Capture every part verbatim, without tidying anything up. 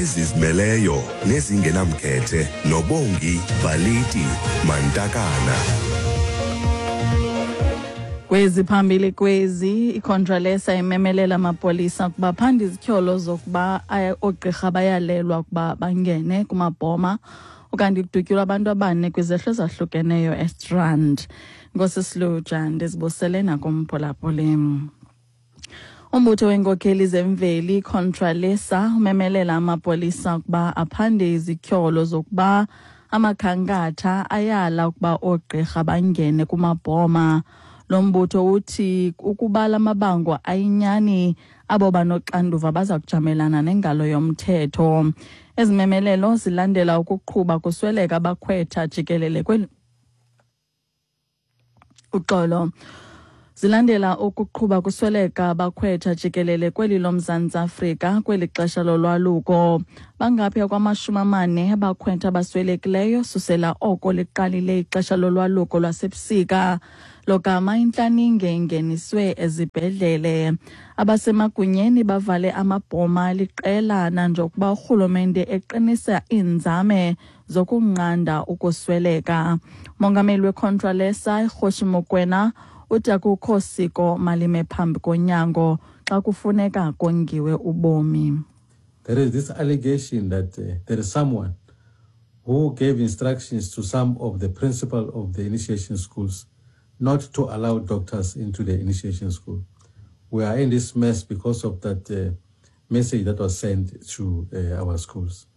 Ezizimeleyo nezingenamkhethe noBongi Baliti Mantakana. Kwezi phambili kwezi, iContralesa imemelela amapolisa ukuba phande izityholo zokuba oogqirha bayalelwa ukuba bangene kumabhoma, ukanti kudutyulwa abantu abane kwizehlo ezahlukeneyo eStrand. Nkosi Siluja, ndizibusele nakumphulaphuli. Umbutho weenkokheli zemveli iContralesa umemelela amapolisa ukuba aphande izityholo zokuba amakhankatha ayala ukuba oogqirha bangene kumabhoma. Lo mbutho uthi ukuba la mabango ayinyani, abo banoxanduva baza kujamelana nengalo yomthetho. Ezi memelelo zilandela ukuqhuba kusweleka abakhwetha jikelele kweli uxolo. Zilandela ukuqhuba kusweleka abakhwetha jikelele kweli loMzantsi Afrika kweli xesha lolwaluko. Bangaphaya kwamashumi amane abakhwetha abaswelekileyo susela oko liqalile ixesha lolwaluko lwasebusika, logama intlaninge ingeniswe ezibhedlele. Abasemagunyeni bavale amabhoma liqela nanjengokuba urhulumente eqinisa iinzame zokunqanda ukusweleka. Mongameli weContralesa iKgosi Mokoena uthi akukho siko malime phambi konyango xa kufuneka kongiwe ubomi. There is this allegation that uh, there is someone who gave instructions to some of the principal of the initiation schools not to allow doctors into the initiation school. We are in this mess because of that uh, message that was sent to uh, our schools.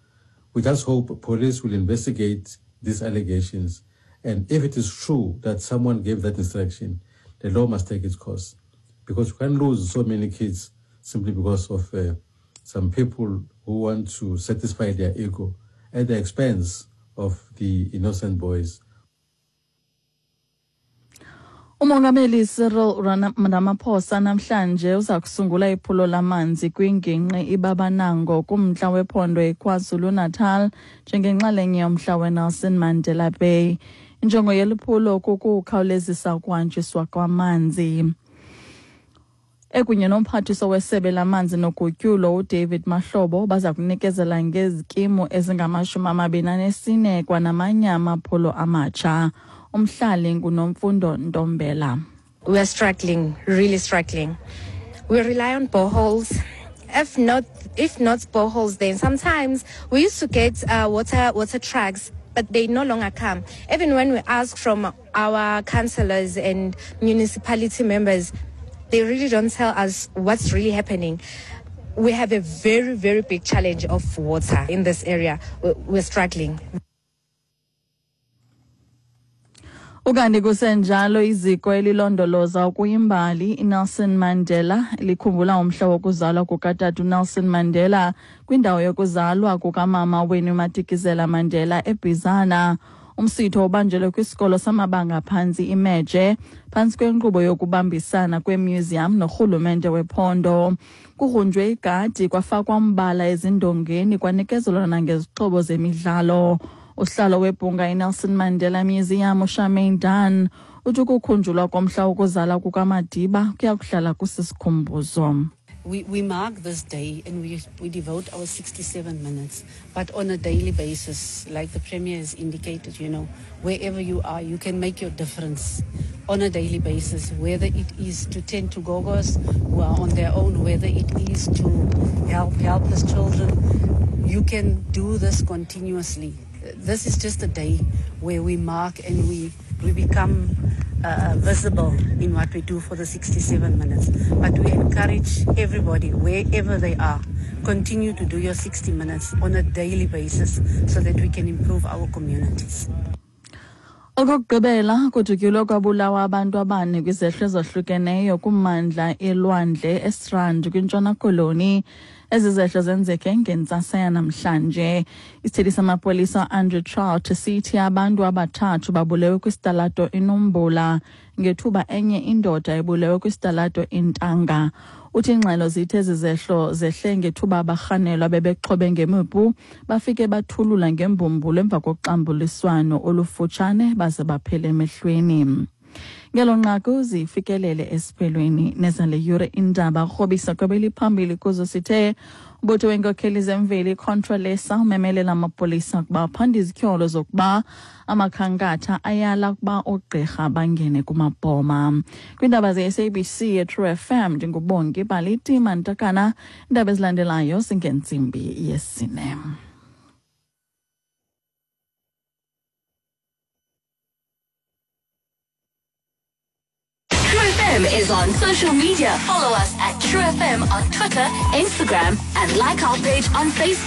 We just hope police will investigate these allegations, and if it is true that someone gave that instruction, the law must take its course, because we can't lose so many kids simply because of uh, some people who want to satisfy their ego at the expense of the innocent boys. Umongameli Cyril Ramaphosa namhlanje uza kusungula iphulo lamanzi kwingingqi iBabanango kumntla wephondo iKwaZulu-Natal njengenxalenye yomhla weNelson Mandela Bay. Injongo yeli phulo kukukhawulezisa ukuhanjiswa kwamanzi. Ekunye nomphathiswa wesebe lamanzi nogutyulo uDavid Mahlobo baza kunikezela ngezikimu ezingamashumi amabini anesine kwanamanye amaphulo amatsha. Umhlali nguNomfundo Ntombela. We are struggling, really struggling. We rely on boreholes. If not, if not boreholes, then sometimes we used to get uh, water, water trucks, but they no longer come. Even when we ask from our councillors and municipality members, they really don't tell us what's really happening. We have a very, very big challenge of water in this area. We're struggling. Ukanti kusenjalo, iziko elilondoloza ukuyimbali iNelson Mandela likhumbula umhla wokuzalwa kukatata uNelson Mandela kwindawo yokuzalwa kukamama Winnie Madikizela Mandela eBizana. Umsitho ubanjelwe kwisikolo samabanga phantsi iMeje phantsi kwenkqubo yokubambisana kwemuseum norhulumente wephondo. Kugrunjwe igadi, kwafakwa umbala ezindongeni, kwanikezelwa nangezixhobo zemidlalo. Usihlalo webhunga iNelson Mandela Museum uCharmaine Dunn uthi ukukhunjulwa komhla wokuzalwa kukaMadiba kuya kuhlala kusisikhumbuzo. We, we mark this day and we, we devote our sixty-seven minutes, but on a daily basis, like the Premier has indicated, you know, wherever you are, you can make your difference on a daily basis, whether it is to tend to gogos who are on their own, whether it is to help helpless children. You can do this continuously. This is just a day where we mark and we, we become uh, visible in what we do for the sixty-seven minutes. But we encourage everybody, wherever they are, continue to do your sixty minutes on a daily basis so that we can improve our communities. Okokugqibela, kudutyulwe kwabulawa abantu abane kwizehlo ezahlukeneyo kummandla elwandle eStrand kwiNtshona Koloni. Ezi zehlo zenzeke ngentsasa yanamhlanje. Isithethi samapolisa Andrew Trout sithi abantu abathathu babulewe kwisitalato iNombula ngethuba enye indoda ebulewe kwisitalato iNtanga. Uthi ingxelo zithi ezi zehlo zehle ngethuba abarhanelwa bebexhobe ngemipu bafike bathulula ngembumbulu emva koxambuliswano olufutshane baze baphele emehlweni. Ngelo nqaku zifikelele esiphelweni nezale yure indaba. Rhobisa kwebeliphambili kuzo sithe umbutho weenkokheli zemveli iContralesa umemelela amapolisa ukuba aphande izityholo zokuba amakhankatha ayala ukuba oogqirha bangene kumabhoma. Kwiindaba ze-S A B C yeTrue F M ndinguBongi Baliti Mantakana. Iindaba ezilandelayo zingentsimbi yesine. True F M is on social media. Follow us at True F M on Twitter, Instagram, and like our page on Facebook.